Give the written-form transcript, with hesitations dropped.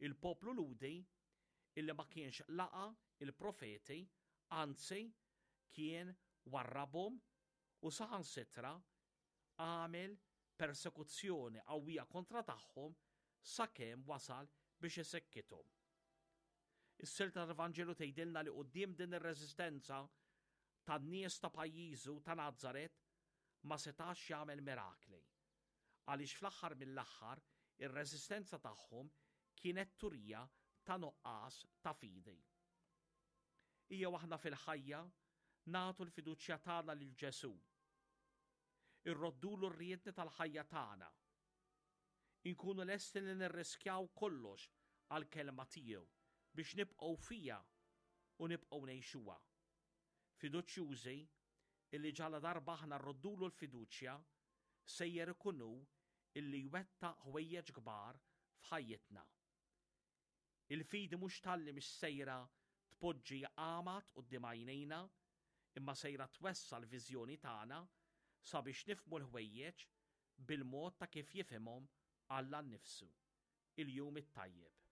Il-poplu Lhudi illi ma kienx laqa' il-profeti, anzi kien warrabhom u saħansitra għamel persekuzzjoni qawwija kontra tagħhom sakemm wasal biex isekkithom. Is-silta tal-Vanġelu tgħidilna li quddiem din ir-reżistenza tan-nies ta' pajjiżu ta' Nazaret ma setax jagħmel mirakli. Għaliex fl-aħħar mill-aħħar ir-reżistenza tagħhom kienet turija ta' nuqqas ta' fidi. Ejjew aħna fil-ħajja nagħtu l-fiduċja tagħna lil Ġesù. Irroddulu r-riedni tal-ħajja tagħna. Inkunu lesti li nirriskjaw kollox għall-kelma tiegħu biex nibqgħu fiha u nibqgħu ngħixuha. Fiduċjużi illi ġala darba aħna rroddulu l-fiduċja sejjer ikun hu illi jwettaq ħwejjeġ kbar f'ħajjitna. Il-fidi mhux talli mhix sejra tpoġġi għamad quddiem għajnejna, imma sejra twessa' l-viżjoni tagħna sabiex nifhmu l-ħwejjeġ bil-mod ta' kif jifhimhom Alla nnifsu. Il-jum it-tajjeb.